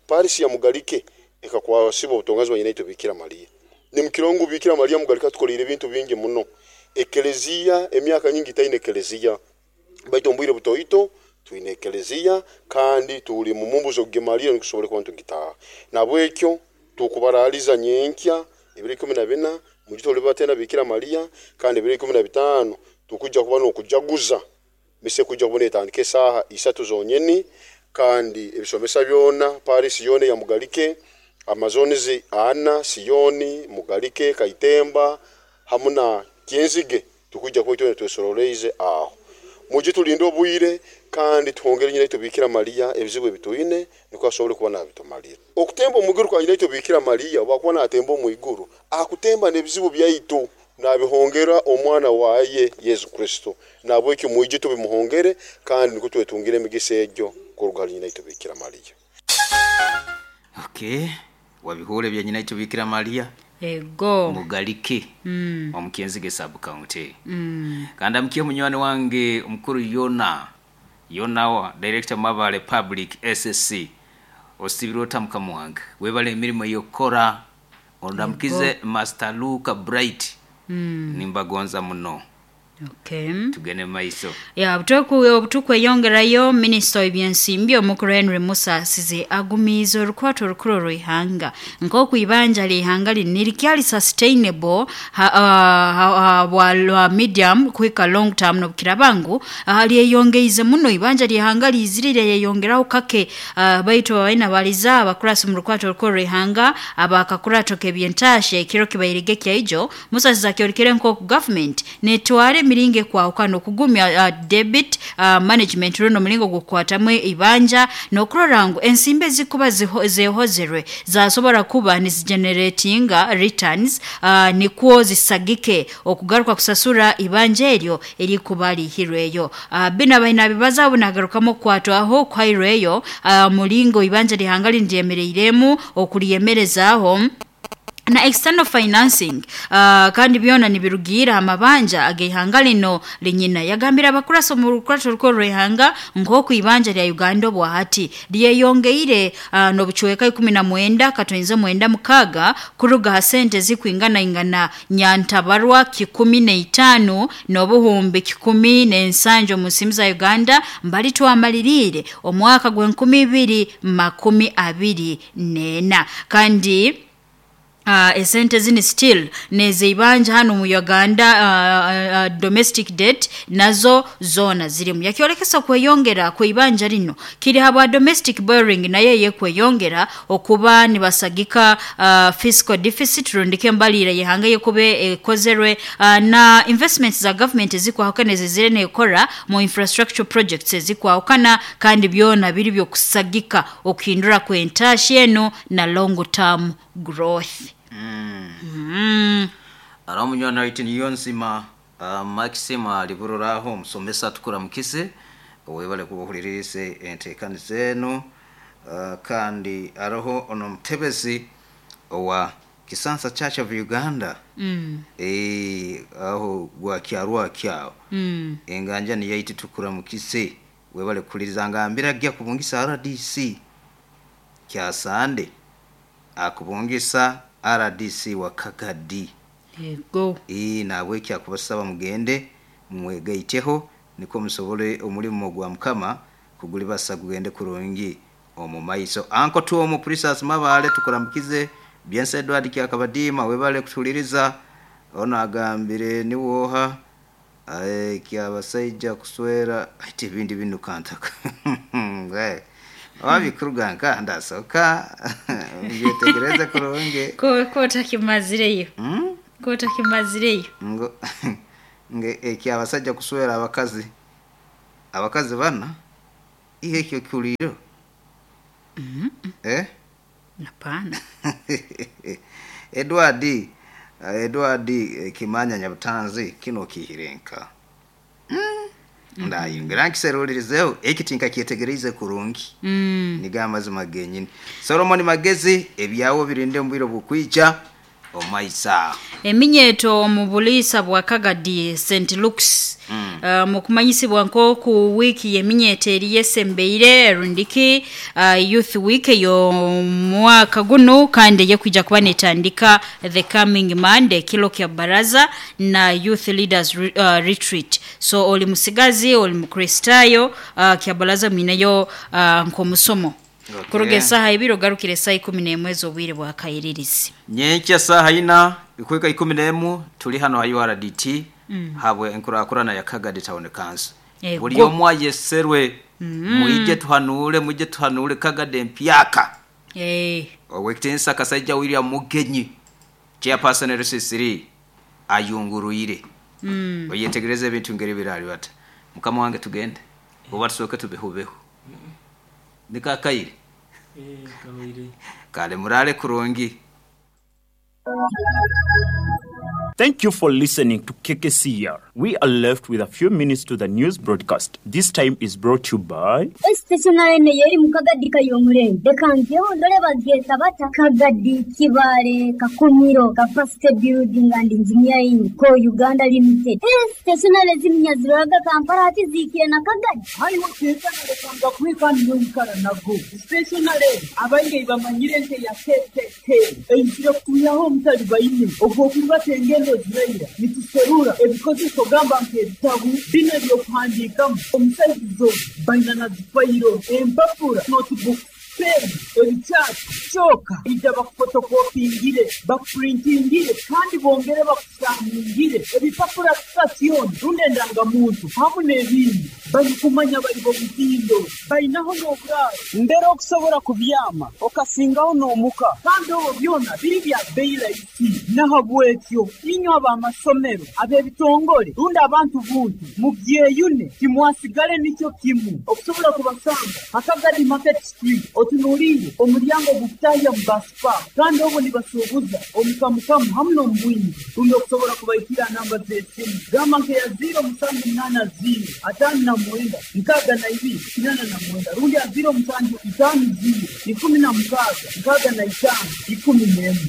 Paris ya mugalike ekakwasiba obutongazi bwa nyina itwe Bikira Maria. Ni mukirongo Bikira Maria mugalika tukolire ebintu bingi muno. Ekelezia emyaka nyingi taine ekelezia, baitu ombwire butoito twine ekelezia kandi tuli mu mumbuzo ge Maria nikusobole kuba ntugitaha. Nabwekyo tukubaraliza nyenkya ebiro ikumi na bina mujito olibatena Bikira Maria, kandi ebiro ikumi na bitano tukujja kuba n'okujaguza mise kujja kubona etandika esaaha isatu zonyeni. Kandi ebisomesa byona Paris yona ya mugalike, Amazonizi ana Siyoni Mugalike Kaitemba hamu na Kyenzige tukujja kuba itwe twesoroleze aho. Mujye tulinde obwire kandi tuhongere nyina itwe Bikira Maria ebizibu ebitwine niko asobole kuba nabitumalira. Okutemba omuguru kwa nyina itwe Bikira Maria wakuba natemba omwiguru akutemba n'ebizibu byaitu nabihongera omwana waye Yesu Kristo. Nabwekyo mujye tubimuhongere kandi niko twetungire emigisa egyo kuruga nyina itwe Bikira Maria. Okay, wabihore bya nyina itwe Bikira Maria. Ego mugalike mm. Omukyenzige sub county mm. Kandi amkiye munywani wange omukuru Yona Yona wa director Mabale Public S S C osibiro tamuka wange webale emirimo yokora ondamkize Master Luka Bright mm. Nimbagonza muno. Okay. Tugende maiso. Ya butoku obutukweyongerayo minister w'ebyensimbi omukuru Henry Musa asize agumiza orukwato orukuru rw'ihanga nk'oku ibanja ly'ihanga lino likyali sustainable ha, ha, ha, ha, medium kuhika long term n'obukirabangu lyeyongeize muno ibanja ly'ihanga lizirire yeyongeraho kake uh, baitu abaina baliza abakurasi mu rukwato orukuru rw'ihanga abakakurato k'ebyentashe ekiro kibairege kyaijo Musa asize akyorikire nk'oku government netware miringe kwahukana okugumya uh, debit uh, management runo mulingo gukwatamu ibanja n'okurora ngu ensimbi zikuba zehozerwe zasobora kuba nizigeneratinga returns uh, nikwo zisagike okugaruka kusasura ibanja eryo erikuba lihirweyo. uh, bina baina bibaza bunagarukamu kwatwaho kwairweyo uh, mulingo ibanja lihanga lindyemereiremu okuliyemerezaaho na external financing uh, kandi byona nibirugira amabanja agehanga lino linyina. Yagambira abakurasa mu rukurato rw'ihanga nk'oku ibanja lya Uganda obwahati lyeyongeire uh, n'obucweka ikumi na mwenda katonze mwenda mukaga kuruga ha sente zikwingana ingana nyantabarwa kikumi na itano n'obuhumbi kikumi n'ensanjo mu nsimu za Uganda mbali twamalirire omwaka gw'enkumi ibiri makumi abiri n'ena. Kandi Uh, esente zini still nezeibanja hano mu Uganda uh, uh, domestic debt nazo zona zirimu. Yakiolekesa kweyongera kuibanja lino kiri haba domestic borrowing naye ye kweyongera okuba nibasagika uh, fiscal deficit rundike mbalira yehanga yekube ekozerwe uh, na investments za government zikwahukana zizire nekora mu infrastructure projects zikwahukana kandi byona biri byo kusagika okuhindura kwentashi eno na long term growth. Mm. Mm. Aramunywana waitu niyo nzima uh, Maxima libururaho musomesa tukura mukise webale kubuhulirize entekani zenu uh, kandi aroho ono mutebezi owa Kisansa Church of Uganda mm. e, aho gwa kyarwa kyao mm. Enganja ni yaiti tukura mukise webale kukuliriza ngambira gya kubungisa R D C kya Sande akubungisa R D C wa Kagadi. Yego. Ee nabwe kyakubasaba mugende mwegaiteho niko musobole omulimu gwa mukama kugulibasa gugende kurungi omu maiso. Anko tuo mu Priscus Mabale tukuramukize Byense Edward Kyakabadima webale kutuliriza ona agambire niwoha ae kyabasaija kuswera ati ibindi bintu kantaka. Ngai. Wabikuruganka ndasoka Yetegereze kurungi. Ko ko takimazireyo. Mm? Ko takimazireyo. Ngo nge eki abasajja kuswera abakazi. Abakazi bana ihe ekyo kuliro. Mm -mm. Eh? Hapana. Edward Edward Kimanya Nyabutanzi kino kihirenka. Mm. Ndayingira nkiserulirizeho ekitinka kyetegereze kurungi. Mm. Niga amazima genyini. Solomon Magezi ebyawo birinde mbwiro bukwica omaisa. Eminyeto mu bulisa bwa Kagadi Saint Luke's. Mm. Uh, mukumanyisibwa nko ku wiki yeminyeto eri yesembeire rundiki uh, youth week yo mwaka guno kandi yekuja kuba netandika the coming Monday kilo kya baraza na youth leaders re, uh, retreat. So oli musigazi oli mukristayo uh, kya baraza minayo uh, nko musomo. Okay. Kuruge saha ibiro garukire saa ikumi n'emwe z'obwire bwa kayiririzi. Nyenkya saha ina ikweka ikumi n'emu tuli hano ha U R D T. Mm. Habwe enkurakurana ya Kagadi Town Council. Eh, Buli omwe ayeserwe mm. Muije tuhanule muije tuhanule Kagadi empyaka. Eh. Owekitensa Kasajja William Mugenyi chairperson R C three ayunguruire. Mm. Oyetegereze ebintu ngeri birali bata. Mukama wange tugende. Oba tusoke tubehubeho. Nikakayire. Eh, kawire. Kale murale kurungi. Thank you for listening to K K C R. We are left with a few minutes to the news broadcast. This time is brought to you by Stationary yeri mukagadi kayomure. Dekangyo ndole bageta bata Kagadi Kibale Kakumiro Capacity Building and Engineering Co Uganda Limited. Stationary ziminyaziraga Kampala ati zikire na Kagadi. Hayi wakeka na kwika nyonkara nago. Stationary abainge bamanyire nte ya K K K. Einjira kuyaho mutali bayine. Ogwokuba tengendo ziraira nituserura ebikozeso gamba nk'ebitabu bino ebyokuhandiikamu omusaizo baina na zifayiro empapura notebook pen ebikyapa kyoka ijja bakufotokopingire bakupurintingire kandi bongere bakusaaningire ebipapura sitasiyooni rundi endangamuntu hamu n'ebindi balikumanya bali b'omutindo balinaho n'oburaaro mbere okusobola kubyama okasingaho n'omuka kandi obwo byona biri bya bbeeyi rahisi nahabwekyo inywe ab'amasomero ab'ebitongole rundi abantu buntu mubyeyune timwasigale nikyo kimu okusobola kubasanga Hakagadi Market Street otunuulire omulyango gukutahya mu baspa kandi obwo nibasuubuza omukamukamu hamu n'omubwingi rundi okusobola kubaikira namba z'esimu gamba nkeya ziro musanju munaana ziro ataano na mwenda nkaaga na ibiri kinana na mwenda rundi ya ziro musanju itaano ziro ikumi na mukaaga nkaaga na itaano ikumi n'emu.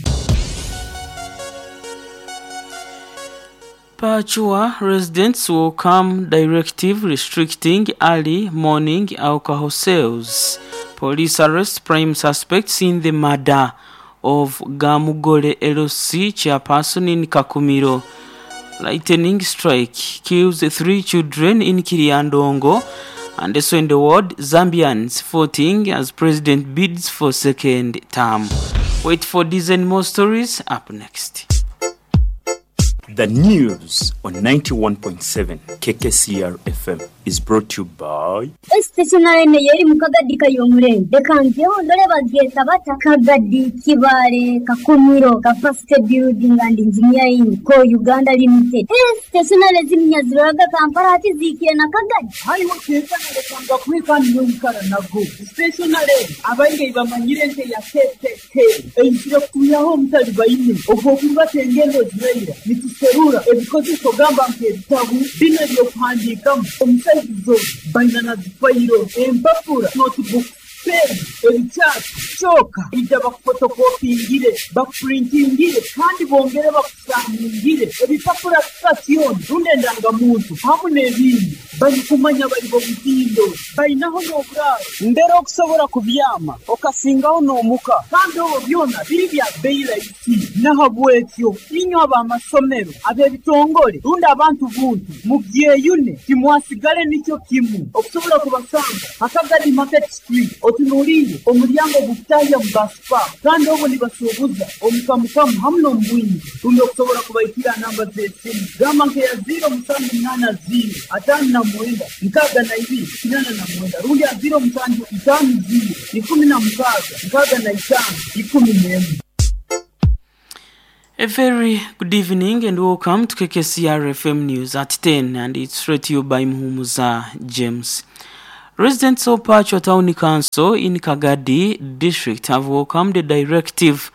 Pachua residents welcome directive restricting early morning alcohol sales. Police arrest prime suspects in the murder of Gamugole L C chairperson in Kakumiro. Lightning strike kills three children in Kiriandongo. And also in the world, Zambians voting as president bids for second term. Wait for these and more stories up next. The news on ninety-one point seven K K C R F M is brought to you by Stationary yeri mukagadi kayomure. Dekangyo ndole bageta bata Kagadi Kibale Kakumiro Capacity Building and Engineering Co Uganda Limited. Stationary ziminyaziraga Kampala ati zikire na Kagadi. Hayi wakeka na kwika nyonkara nago. Stationary abainge bamanyire nte ya K K K. Einjira kuyaho mutali bayine. Ogwokuba tengendo ziraira. Nituserura ebikozeso gamba nk'ebitabu bino ebyokuhandiikamu omusaizo baina na zifayiro empapura notebook pen ebikyapa kyoka ijja bakufotokopingire bakupurintingire kandi bongere bakusaaningire ebipapura sitasiyooni rundi endangamuntu hamu n'ebindi balikumanya bali b'omutindo balinaho n'oburaaro mbere okusobola kubyama okasingaho n'omuka kandi obwo byona biri bya bbeeyi rahisi nahabwekyo inywe ab'amasomero ab'ebitongole rundi abantu buntu mubyeyune timwasigale nikyo kimu okusobola kubasanga Hakagadi Market Street otunuulire omulyango gukutahya mu baspa kandi obwo nibasuubuza omukamukamu hamu n'omubwingi rundi okusobola kubaikira namba z'esimu gamba nkeya ziro musanju munaana ziro ataano na mwenda nkaaga na ibiri kinana na mwenda rundi ziro musanju itaano ziro ikumi na mukaaga nkaaga na itaano ikumi n'emu. A very good evening and welcome to K K C R F M News at ten, and it's read to you by Muhumuza James. Residents of Pachwa Town Council in Kagadi District have welcomed the directive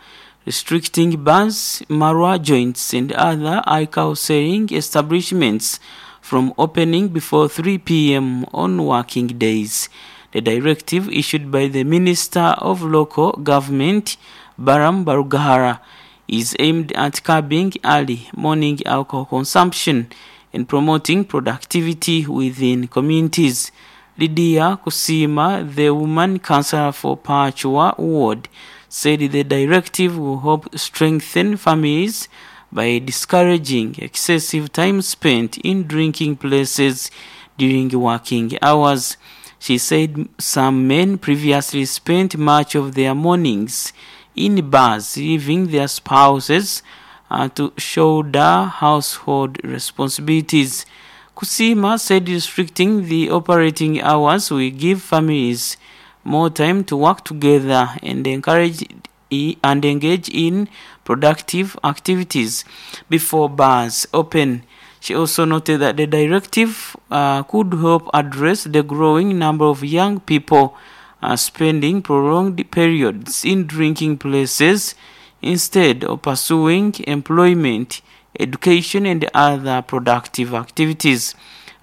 restricting bars, marwa joints and other alcohol selling establishments from opening before three p m on working days. The directive, issued by the Minister of Local Government, Baram Barugahara, is aimed at curbing early morning alcohol consumption and promoting productivity within communities. Lydia Kusima, the woman councillor for Pachwa Ward, said the directive will help strengthen families by discouraging excessive time spent in drinking places during working hours. She said some men previously spent much of their mornings in bars, leaving their spouses uh, to shoulder household responsibilities. Kusima said restricting the operating hours will give families more time to work together and encourage and engage in productive activities before bars open. She also noted that the directive uh, could help address the growing number of young people uh, spending prolonged periods in drinking places instead of pursuing employment, education and other productive activities.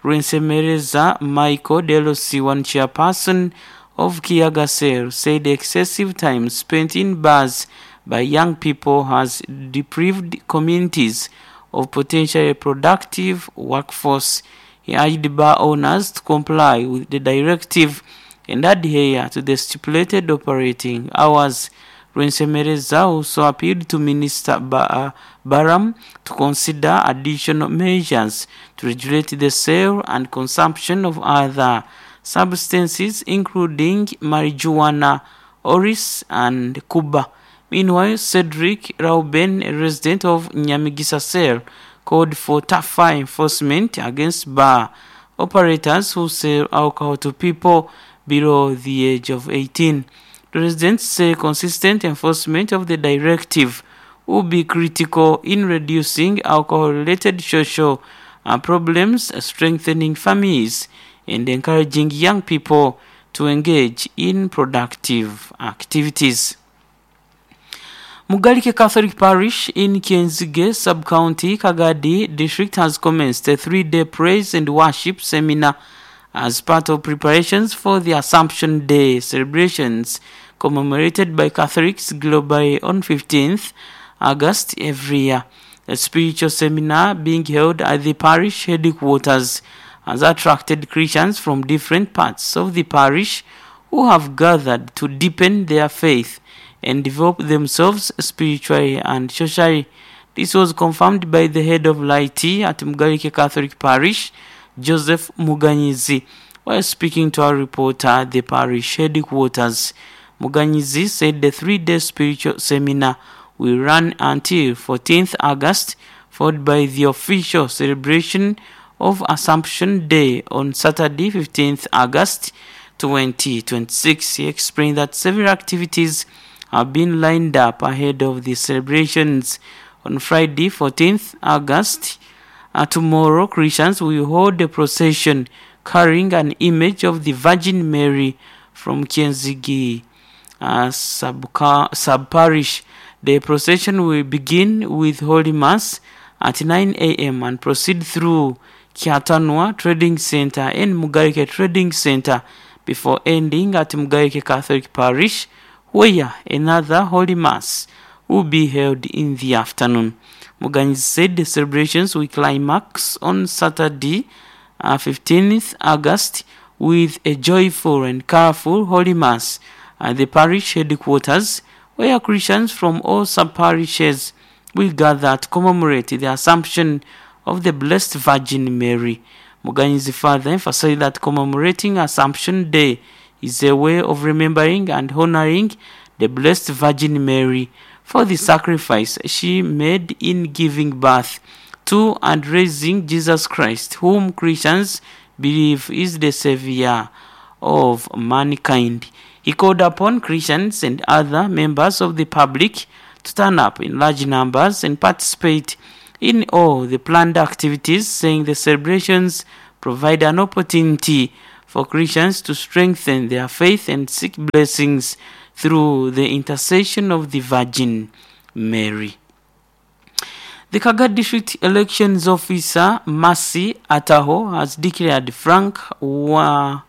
Rensemereza Michael Delosi, one chairperson of Kiagasel, said excessive time spent in bars by young people has deprived communities of potentially productive workforce. He urged bar owners to comply with the directive and adhere to the stipulated operating hours. Rensemereza also appealed to Minister ba- Baram to consider additional measures to regulate the sale and consumption of other substances, including marijuana, oris, and kuba. Meanwhile, Cedric Rauben, a resident of Nyamigisa Cell, called for tougher enforcement against bar operators who sell alcohol to people below the age of eighteen. The residents say consistent enforcement of the directive will be critical in reducing alcohol-related social problems, strengthening families, and encouraging young people to engage in productive activities. Mugalike Catholic Parish in Kienzige Sub-County, Kagadi District has commenced a three-day praise and worship seminar as part of preparations for the Assumption Day celebrations commemorated by Catholics globally on fifteenth August every year. The spiritual seminar being held at the parish headquarters has attracted Christians from different parts of the parish who have gathered to deepen their faith and develop themselves spiritually and socially. This was confirmed by the head of laity at Mugalike Catholic Parish, Joseph Muganyizi, while speaking to our reporter at the parish headquarters. Muganyizi said the three-day spiritual seminar will run until fourteenth August, followed by the official celebration of Assumption Day on Saturday, fifteenth August twenty twenty-six. He explained that several activities have been lined up ahead of the celebrations. On Friday, fourteenth August, uh, tomorrow, Christians will hold a procession carrying an image of the Virgin Mary from Kienzigi uh, sub-parish. The procession will begin with Holy Mass at nine a m and proceed through Kiatanwa Trading Center and Mugarike Trading Center before ending at Mugarike Catholic Parish, where another Holy Mass will be held in the afternoon. Muganyi said the celebrations will climax on Saturday, uh, fifteenth August, with a joyful and colorful Holy Mass at the parish headquarters, where Christians from all sub-parishes will gather to commemorate the Assumption of the Blessed Virgin Mary. Muganyi's father emphasized that commemorating Assumption Day is a way of remembering and honoring the Blessed Virgin Mary for the sacrifice she made in giving birth to and raising Jesus Christ, whom Christians believe is the savior of mankind. He called upon Christians and other members of the public to turn up in large numbers and participate in all the planned activities, saying the celebrations provide an opportunity for Christians to strengthen their faith and seek blessings through the intercession of the Virgin Mary. The Kaga District Elections Officer, Masi Ataho, has declared Frank Wamanya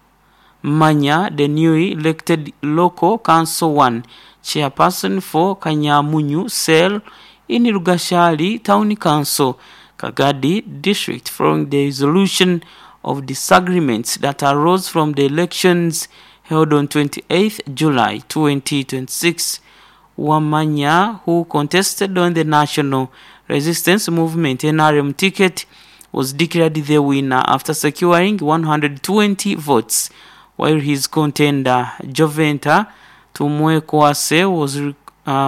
the newly elected local council one chairperson for Kanyamunyu Cell in Rugashali Town Council, Kagadi District, following the resolution of disagreements that arose from the elections held on twenty-eighth July twenty twenty-six. Wamanya, who contested on the National Resistance Movement N R M ticket, was declared the winner after securing one hundred twenty votes, while his contender Joventa Tumwekwase was, uh,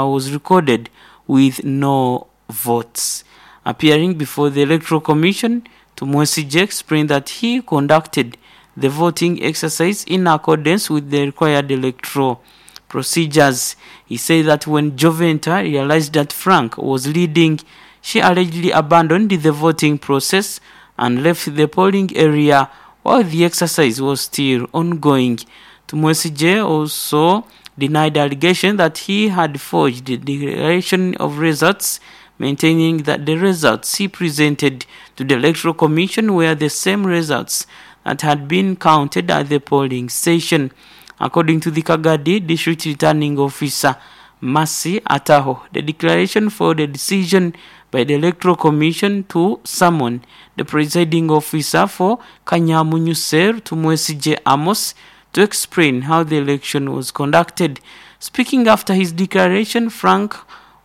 was recorded with no votes. Appearing before the Electoral Commission, Tumwesije explained that he conducted the voting exercise in accordance with the required electoral procedures. He said that when Joventa realized that Frank was leading, she allegedly abandoned the voting process and left the polling area while the exercise was still ongoing. Tumwesije also denied the allegation that he had forged the declaration of results, maintaining that the results he presented to the Electoral Commission were the same results that had been counted at the polling station. According to the Kagadi District Returning Officer, Masi Ataho, the declaration for the decision by the Electoral Commission to summon the presiding officer for Kanyamunyu Cell, Tumwesije Amos, to explain how the election was conducted. Speaking after his declaration, Frank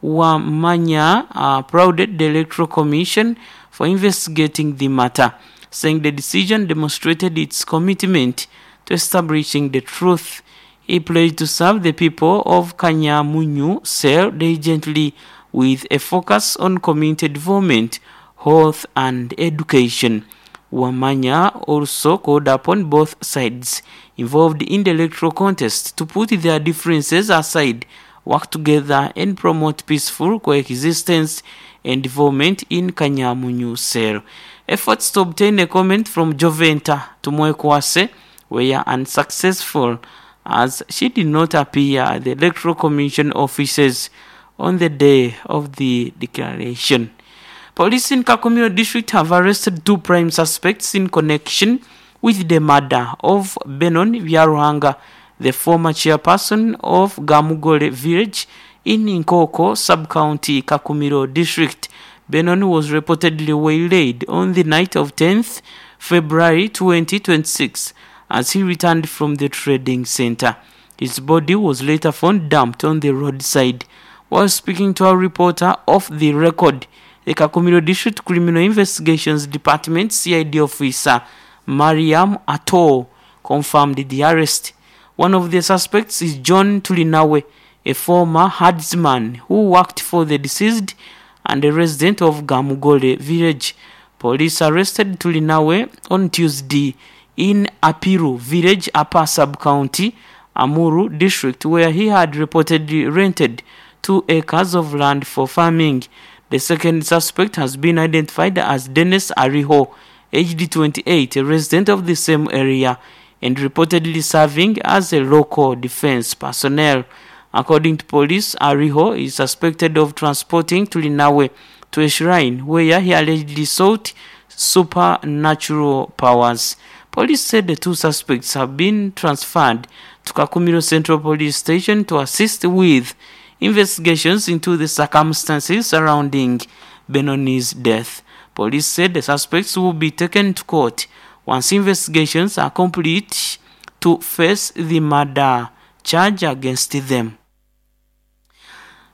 Wamanya applauded the Electoral Commission for investigating the matter, saying the decision demonstrated its commitment to establishing the truth. He pledged to serve the people of Kanyamunyu Cell diligently with a focus on community development, health and education. Wamanya also called upon both sides involved in the electoral contest to put their differences aside, work together and promote peaceful coexistence and development in Kanyamunyu Cell. Efforts to obtain a comment from Joventa Tumwekwase were unsuccessful, as she did not appear at the Electoral Commission offices on the day of the declaration. Police in Kakumiro District have arrested two prime suspects in connection with the murder of Benon Byaruhanga, the former chairperson of Gamugole village in Nkoko sub-county, Kakumiro District. Benon was reportedly waylaid on the night of tenth February twenty twenty-six as he returned from the trading center. His body was later found dumped on the roadside. While speaking to our reporter off the record, the Kakumiro District Criminal Investigations Department C I D officer Mariam Ato confirmed the arrest. One of the suspects is John Tulinawe, a former herdsman who worked for the deceased and a resident of Gamugole village. Police arrested Tulinawe on Tuesday in Apiru village, Upper Sub-County, Amuru District, where he had reportedly rented two acres of land for farming. The second suspect has been identified as Dennis Ariho, aged twenty-eight, a resident of the same area and reportedly serving as a local defense personnel. According to police, Ariho is suspected of transporting Tulinawe to a shrine where he allegedly sought supernatural powers. Police said the two suspects have been transferred to Kakumiro Central Police Station to assist with investigations into the circumstances surrounding Benoni's death. Police said the suspects will be taken to court once investigations are complete to face the murder charge against them.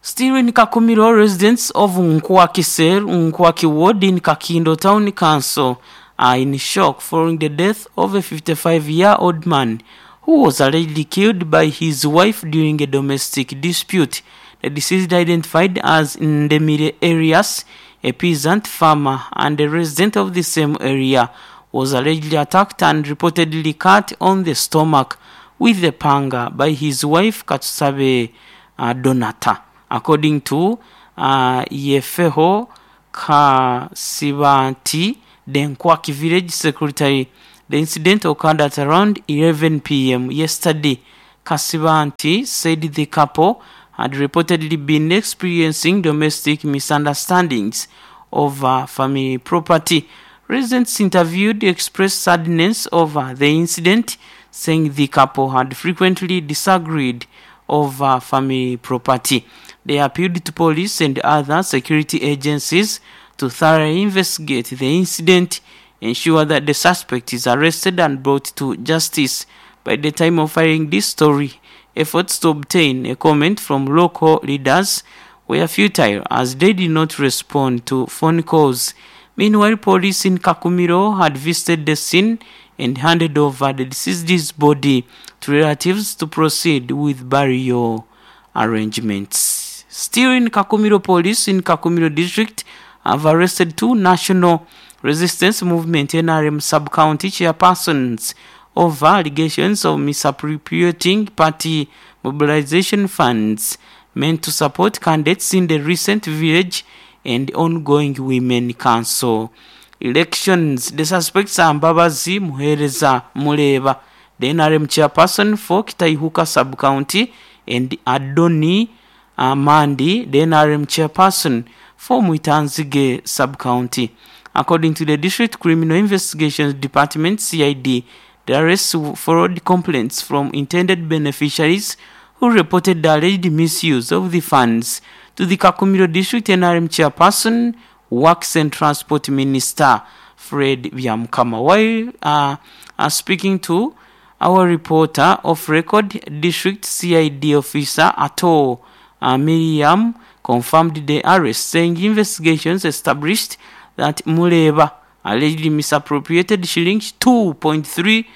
Still in Kakumiro, residents of Nkwaki Cell, Nkwaki Ward in Kakindo Town Council are in shock following the death of a fifty-five-year-old man who was allegedly killed by his wife during a domestic dispute. The deceased, identified as Ndemire Arias, a peasant farmer and a resident of the same area, was allegedly attacked and reportedly cut on the stomach with the panga by his wife Katsusabe uh, Donata. According to uh, Yefeho Kasibanti, the Nkwaki village secretary, the incident occurred at around eleven p.m. yesterday. Kasibanti said the couple had reportedly been experiencing domestic misunderstandings over family property. Residents interviewed expressed sadness over the incident, saying the couple had frequently disagreed over family property. They appealed to police and other security agencies to thoroughly investigate the incident, ensure that the suspect is arrested and brought to justice. By the time of filing this story, efforts to obtain a comment from local leaders were futile as they did not respond to phone calls. Meanwhile, police in Kakumiro had visited the scene and handed over the deceased's body to relatives to proceed with burial arrangements. Still in Kakumiro, police in Kakumiro district have arrested two National Resistance Movement N R M sub-county chairpersons over allegations of misappropriating party mobilization funds meant to support candidates in the recent village and ongoing women council elections. The suspects are Mbabazi Muhereza Muleba, the N R M chairperson for Kitaihuka sub-county, and Adoni Amandi, the N R M chairperson for Mwitanzige sub-county. According to the District Criminal Investigations Department, C I D, the arrests followed complaints from intended beneficiaries who reported the alleged misuse of the funds to the Kakumiro District N R M chairperson, Works and Transport Minister Fred Byamukama. While uh, uh, speaking to our reporter off record, District C I D officer Ato uh, Miriam confirmed the arrest, saying investigations established that Muleba allegedly misappropriated shillings two point three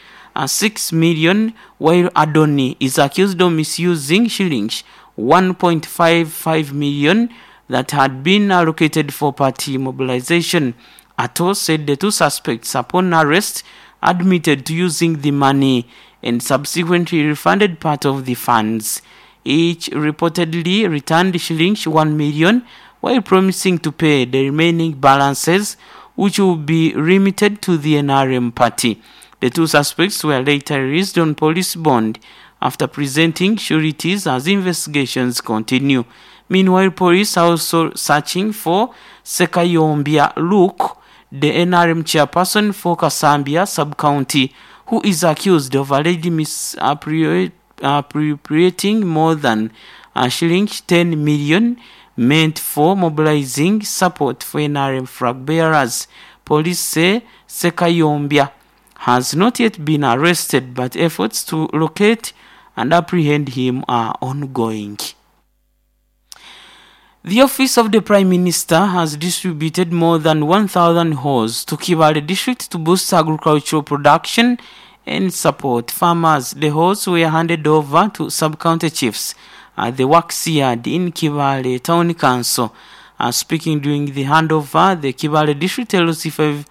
six million, while Adoni is accused of misusing shillings one point five five million that had been allocated for party mobilization. Ato said the two suspects, upon arrest, admitted to using the money and subsequently refunded part of the funds. Each reportedly returned shillings one million while promising to pay the remaining balances, which will be remitted to the N R M party. The two suspects were later released on police bond after presenting sureties as investigations continue. Meanwhile, police are also searching for Sekayombia Luke, the N R M chairperson for Kasambia sub-county, who is accused of allegedly misappropriating more than uh, shillings ten million meant for mobilizing support for N R M flag bearers. Police say Sekayombia has not yet been arrested, but efforts to locate and apprehend him are ongoing. The Office of the Prime Minister has distributed more than one thousand hoes to Kibaale District to boost agricultural production and support farmers. The hoes were handed over to sub-county chiefs at the Works Yard in Kibaale Town Council. Uh, speaking during the handover, the Kibaale District L C five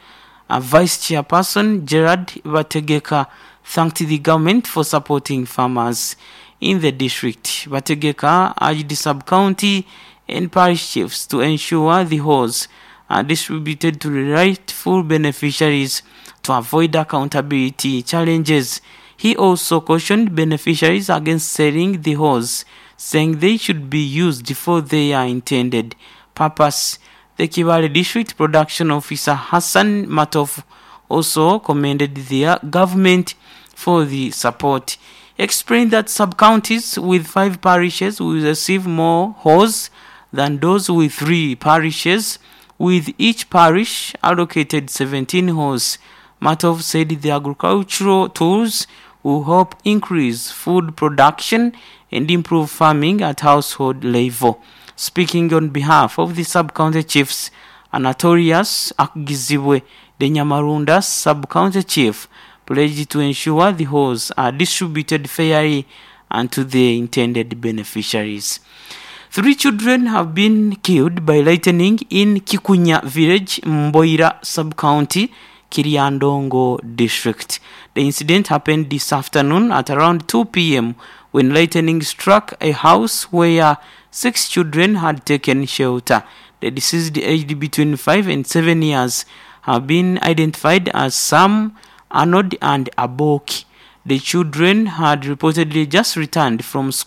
uh, Vice Chairperson Gerard Bategeka thanked the government for supporting farmers in the district. Bategeka urged the sub-county and parish chiefs to ensure the hoes are distributed to the rightful beneficiaries to avoid accountability challenges. He also cautioned beneficiaries against selling the hoes, saying they should be used for their intended purpose. The Kibaale District Production Officer Hassan Matov also commended the government for the support. He explained that sub-counties with five parishes will receive more hoes than those with three parishes, with each parish allocated seventeen hoes. Matov said the agricultural tools will help increase food production and improve farming at household level. Speaking on behalf of the sub-county chiefs, Anatolius Akgizibwe, the Nyamarunda sub-county chief, pledged to ensure the hoes are distributed fairly and to the intended beneficiaries. Three children have been killed by lightning in Kikunya village, Mboira sub-county, Kiryandongo district. The incident happened this afternoon at around two p m when lightning struck a house where six children had taken shelter. The deceased, aged between five and seven years, have been identified as Sam, Arnold and Aboki. The children had reportedly just returned from school.